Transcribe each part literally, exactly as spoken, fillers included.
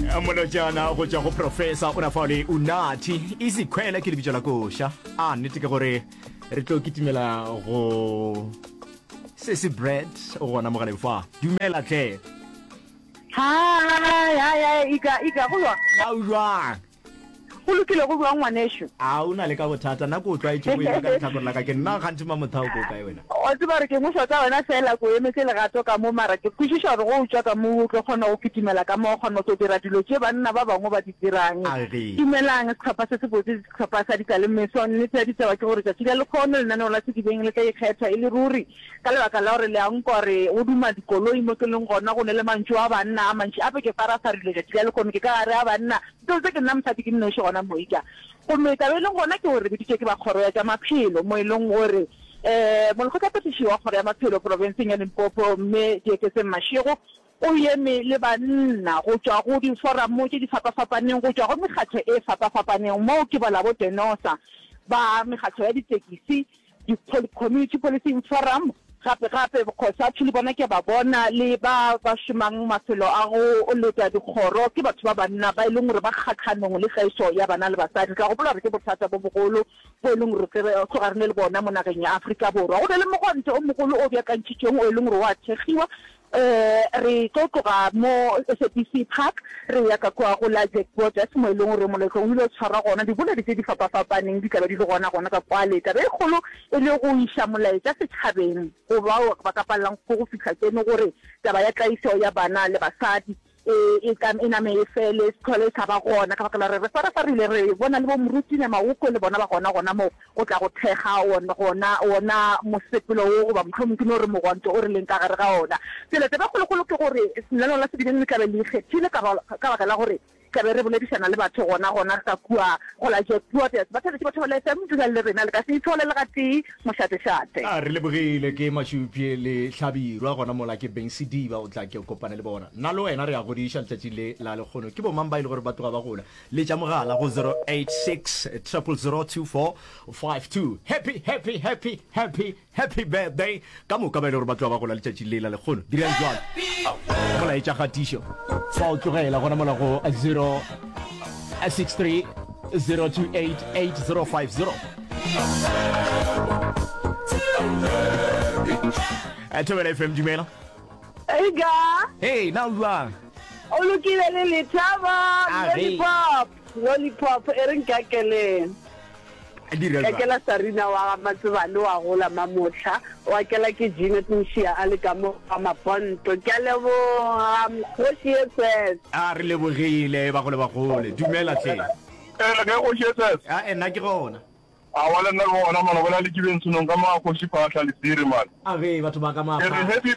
Molotšana go tšwa go Professor o na fao le Unathi Isikhwele ke lebitso la koša. A nnete ke gore re tlo kitimela go Sesi Bread o gona mogaleng fa. Dumela tle. Hi, hi, hi, Ika, Ika, go jwang? Na o jwang? Go lokile, go jwang ngwanešu? A o na le ka bothata, nna ke o tlwaetše go ema ka lehlakore la ka, ke nna kganthe Mamothao ko kae wena? Wa tseba gore ke ngwešwa tša wena fela, ke o emetše legato ka mo, mara ke kwešiša gore go o tšwa ka mo o tlo kgona go kitimela ka mo, wa kgona go tlo dira dilo tše banna ba bangwe ba di dirang. Age. Dumelang sehlopha se sebotse, sehlopha sa Dikalemeso. Nnete ya ditaba ke gore tšatši la lekgono lenaneo la Sedibeng le tla ikgetha e le ruri ka lebaka la gore le a nkwa gore go duma dikoloi mo ke leng gona, go ne le mantšu a banna a mantši, ape ke farafarile tšatši la lekgono ke ka gare ga banna. Seo se ke nna mosadi ke nnoši gona mo Ika. Gomme taba e leng gona ke gore re biditšwe ke ba Kgoro ya tša Maphelo mo e leng gore um Molekgotlaphethiši wa Kgoro ya Maphelo profenseng ya Limpopo Mme Dieketseng Mashego o eme le banna go tšwa go diforamo tše di fapafapaneng go tšwa go mekgatlo e fapafapaneng moo ke bala bo Denosa ba mekgatlo ya ditekisi di Community Policing Forum Gape gape, Cosatu le bona ke a ba bona, le ba ba šomang mafelo a go leta dikgoro, ke batho ba banna ba e leng gore ba kgahlanong le tlaišo ya bana le basadi. Re tla gopola gore ke bothata bo bogolo bo e leng gore re tloga re ne le bona mo nageng ya Afrika Borwa. Go na le mogwanto o mogolo o beakantšhitšweng o e leng gore o a thekgiwa. Re tlo tloga mo S A B C Park re ya ka kua go la Jack Borders mo e leng gore moletlo o ile o tshwarwa gona. Diboledi tše di fapafapaneng di tla be di le gona gona ka kwale. Taba e kgolo e le go iša molaetša setšhabeng go bao ba ka palelang ke go fihla keno gore taba ya tlaišo ya bana le basadi e, e, ka, e name e fele, e se hlole e sa ba gona, ka baka la gore re farafarile, re bona le bo Moruti Nyamagokwe le bona ba gona gona moo go tla go thekga wona, gona, wona mosepelo wo, goba mohlomong ke no re mogwanto o re leng ka gare ga ona. Bjale taba e kgolokgolo ke gore lenaneo la Sedibeng le tla be le ikgethile ka, ka baka la gore tla be re boledišana le batho gona gona ka kua go la Jack Waters. Batheeletši ba Thobela F M, dulang le rena, le ka se ithole le gatee. Mošate-šate. A re lebogile ke Mašupje le Hlabirwa gona mola ke Beng Sediba o tla ke kopane le bona. Nna le wena re a godiša letšatši le la lekgono. Ke bomang ba e le gore ba tloga ba gola? Letša mogala go zero eight six triple zero two four five two. Happy, happy, happy, happy, happy birthday ka moka ba e le gore ba tloga ba gola letšatši le la lekgono. Dirang jwalo. Molaetša kgatišo fa o tlogela gona mola go zero six three zero two eight eight zero five zero. Thobela F M, dumela. Ega. Hey, na o jwang? O lokile le lethabo, lollipop, lollipop e re nkakeleng. Kakela Sarina wa ga Matsebane wa gola mamohla, wa kela ke Jeanette Mošia a le ka mo ga Maponto. Ke a leboga Kgoši S S. A re lebogile bagolo bagole. Dumela hle. Ee, le kae Kgoši S S? A nna ke gona. Aowa le nna ke gona man, o bolela le Kibeng Senong ka mo ga Kgoši Phahla Letsiri man. A ge batho ba ka Ke re happy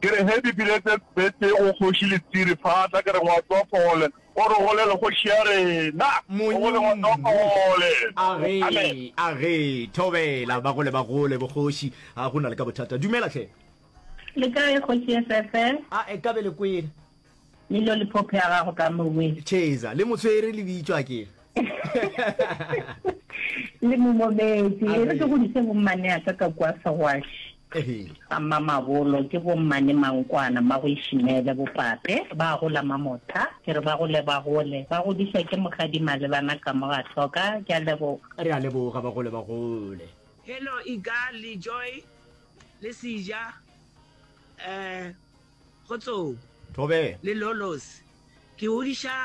ke re happy belated birthday go Kgoši Letsiri Phahla, ke re ngwatso wa phole. O re golele kgoši ya rena. O gole ngwana wa phole. Age, age, thobela, ba gole ba gole, bokgoši, ga go na le ka bothata. Dumela hle. Le kae kgoši S F L? A e ka be le kwele. Le lollipop ya gago ka mowe. Cheza, le motshwere le bitšwa ke. Le momometse. E re ke godiše bommane a ka ka kua Segwaši. Ga Mmamabolo ke bommane Mankwana, Mmagoishimele, bopape, ba gola Mamotha, ke re ba gole ba gole, ba godišwa ke Mokgadi Malebana ka mo ga hloka, ke a leboga. Re a leboga ba gole ba gole. Hello Iga le Joy le Seja eh Kgotsong Thobela. le Lolos ke godiša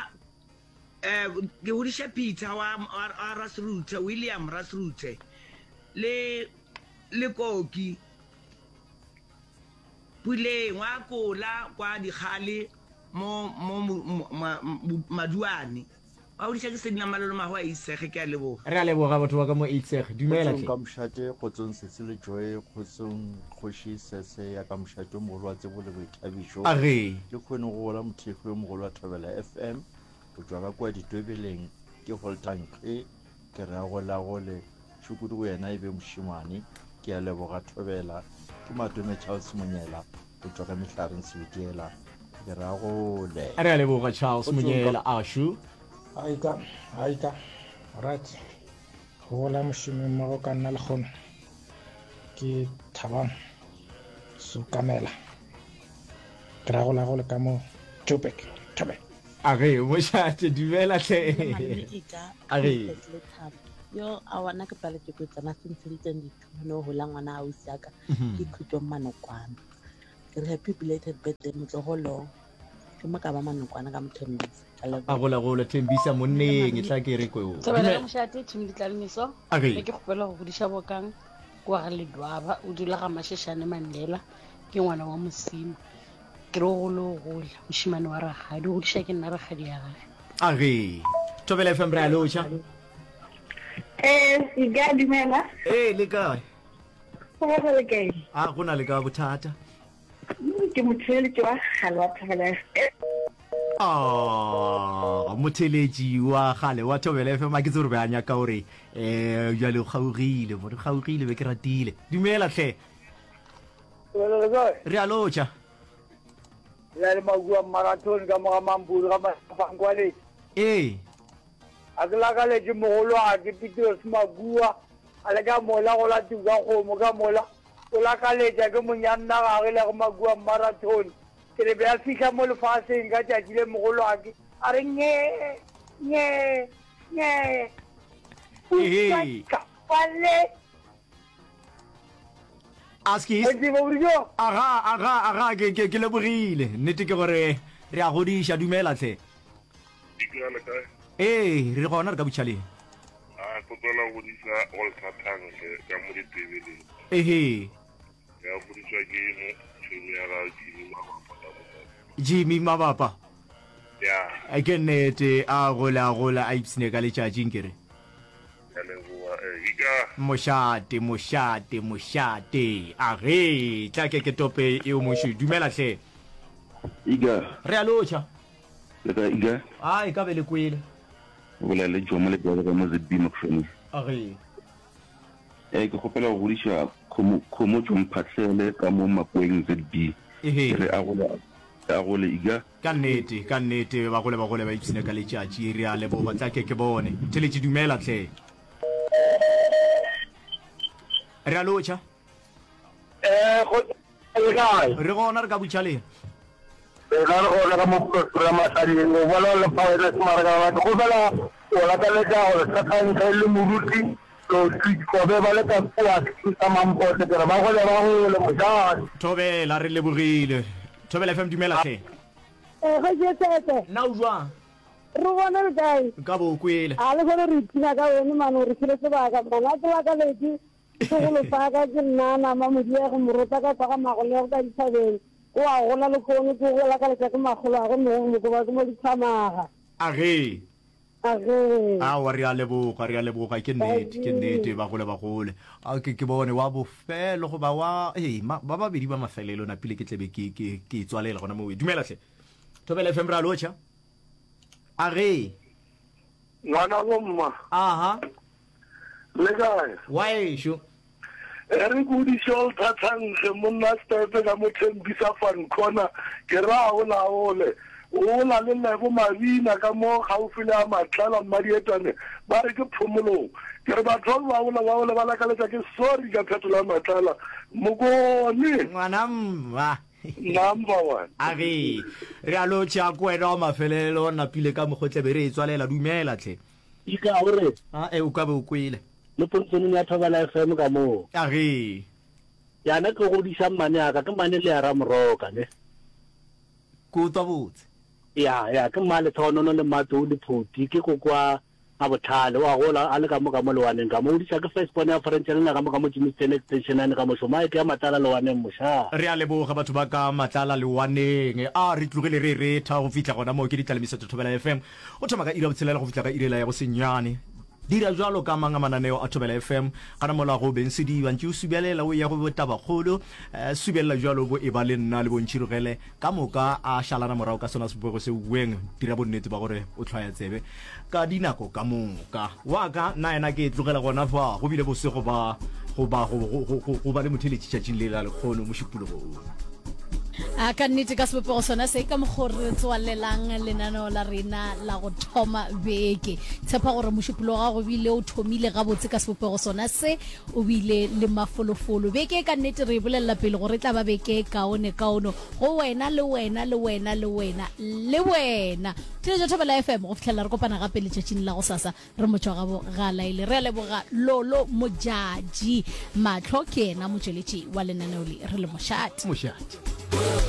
eh ke godiša Peter wa wa Rasruthe William Rasruthe le Le Koki, Puleng wa kola kwa Dikgale mo mo Maduane. Wa godiša ke Sedina Malolo Mago a Eitsege. Ke a leboga. Re a leboga batho ba ka mo Eitsege. Dumela Kgotsong hle. ka mošate, kgotsong Sesi le Joy, kgotsong Kgoši Sese ya ka mošate o mogolo wa tsebo le boithabišo. Age. Ke kgone go gola mothekgi yo mogolo wa Thobela F M go tšwa ka kua Ditwebeleng, ke Holter Nkge, ke re a golagole. Tšhukudu go yena e be mošemane. Ke a leboga Thobela. Ke Matome Charles Monyela go tšwa ka Mehlareng Sebitiela. Ke re a gole. Re a leboga Charles Monyela ašu. Aika, aika. Right. Go gola mošomi mmogo ka nna lekgono ke Thabang Sukamela. Ke ra gola gole ka mo Joburg. Thobela. A ge mošate, dumela hle. A ge. Yo a wana ke paletše ko tsena se ntsheditseng dithuno gola ngwana ausi ya ka ke Khutso Manokwana. Ke re happy belated birthday motlogolo. Ke mo ka ba Manokwana ka Mothembisa. Ka leboga. A gola gola Thembisa monneng e tla ke re ko. Thobela mošate team Ditlalemiso. A ge. Be ke kgopela go godiša bokang kwa ga Ledwaba o dula ga Masheshane Mandela ke ngwana wa Mosima. Ke re o gole o gole mošemane wa rakgadi o godiša ke nna rakgadi ya gage. A ge. Thobela F M re a lotšha. Eh, ke a dumela. Eh, le kae? Go ba le kae? A go na le ka bothata. Ke motheletši wa kgale wa Thobela F M. Ah, motheletši wa kgale wa Thobela F M a ke tsebe gore be a nyaka gore eh jwale o kgaogile, mo re kgaogile be ke ratile. Dumela hle. Dumela le kae? Re a lotšha. Le le makua marathon ka moga mampuru ga mafankwale. Ee. A ke lakaletše mogolo a ke Petros Makua a le ka mola go la tuka kgomo ka mola o lakaletša ke monyanna gage le go Makua marathon ke re be a fihla mo lefaseng ka tšatši le mogolo a ke a re nye nye nye Ehe. Pale Askies. Aga, aga, aga, ke, ke, ke lebogile. Nnete ke gore re a godiša, dumela hle. Ee, re gona re ka botšhaleng. A kgopela go godiša Walter Thankge ka mo ditebeleng. Ehe. Ya godišwa ke mo tšhomi ya ga Jimmy Mabapa ka mo. Jimmy Mabapa. Ya. Ke nnete, a gole a gole a ipsine ka letšatši nkere. Ke a leboga, eh, Ika. Mošate, mošate, mošate. A ge, tla ke ke tope eo moši. Dumela hle. Ika. Re a lotšha. Le kae, Ika? A e ka be le kwele. O bolela le Jomo Lebjale ka mo Z B Mokgšwane. A ge. Eh, ke kgopela go godiša Khomo, Khomotšo Mphahlele ka mo Makweng Z B. Ehe. Ke re a gole, a gole, Ika. Ka nnete, ka nnete, ba gole ba gole ba ipshine ka letšatši. Re a leboga. Tla ke ke bone. Theletše, dumela hle. Re a lotšha. Eh, go le kae? Re gona re ka butšhaleng. Rena re gona ka mo Pretoria Masading. O bolela le Phaena Semaraka. Ke kgopela o lakaletša gore Sathantle le Moruti Lotfi Kobe ba le ka kua sa Mampote ke re ba gole ba gole mojane. Thobela, re lebogile. Thobela F M dumela hle. Eh, go Jesese. Na o jwang? Re gona le kae? Nka bo o kwele. A le gone re ipshina ka wene mane o re file sebaka mane a ke lakaletše segolo sa ka ke nna nama modiego morota ka kwa ga magolego ka dithabeng o a gola le kone ke go lakaletša ke makgolo a go mogo mokoba ke mo dithamaga. A ge. A ge. Aowa re a leboga, re a leboga, ke nnete, ke nnete, ba gole ba gole. A ke ke bone wa bofelo goba wa ee ma, ba babedi ba mafelelo napile ke tlebe ke ke ke tswalela gona moo. Dumela hle. Thobela F M re a lotšha. A ge. Ngwana bomma. Aha. Le kae? Wa ešo. E re kodiše o thathankge monna Stepe ka mo Thembisa Van Corner ke ra o laole o la le Lebo Mabina ka mo gaufi le a Matlala Mmadietane ba re ke phomolong ke re batho ba ba ola ba ola ba lakaletša ke sorry ka phetola Matlala Mokone. Ngwana mma. Number one. A re re a lotšha ko wena wa mafelelo napile ka mokgotlebe re e tswalela dumela tlhe. Ika o re. A e o ka be o kwele. Le pontšhoneng ya Thobela F M ka moo. A ge. Yana ke godiša mmane ya ka, ke mmane le ya Ramoroka, ne. Ke utlwa botse. Ya, ya, ke mma Lethonono le mma Tou le Photi, ke koko wa Mabohlale, o a gola a le ka mo ka mo lewaneng ka mo. O godiša ke first born ya French le nna ka mo ka mo Germiston Extension yane ka mo šoma, ke ya Matlala lewaneng mošaa. Re a leboga batho ba ka Matlala lewaneng. A re tlogile re retha go fihla gona moo ke ditlalemiso tša Thobela F M. Go thoma ka iri ya botshelela go fihla ka iri yela ya go senyane. Dira bjalo ka mang a mananeo a Thobela F M, gana mola go beng sediba ntše o subelela o eya go bo Tabakgolo, subelela bjalo bo eba le nna le bo Ntšhirogele ka moka a šalana morago ka sona sebopego seo weng dira bonnete ba gore o hlwaya tsebe ka dinako ka moka. Wa ka nna yena ke e tlogela gona fa go bile bose go ba go ba go go go go ba le motheeletši tšatšing le la lekgono mošupologong. A ka nnete ka sebopego sona se ka mokgo re tswalelang lenaneo la rena la go thoma beke. Tshepa gore mošupologo wa gago bile o thomile gabotse ka sebopego sona se, o bile le mafolofolo. Beke e ka nnete re e bolelela pele gore e tla ba beke e kaone-kaono go wena le wena le wena le wena le wena. Theetša Thobela F M go fihlela re kopana gape letšatšing la gosasa. Re motšwagabo ga laele. Re a leboga Lolo Modjadji. Mahlo ke yena motšweletši wa lenaneo le. Re le mošate. Mošate.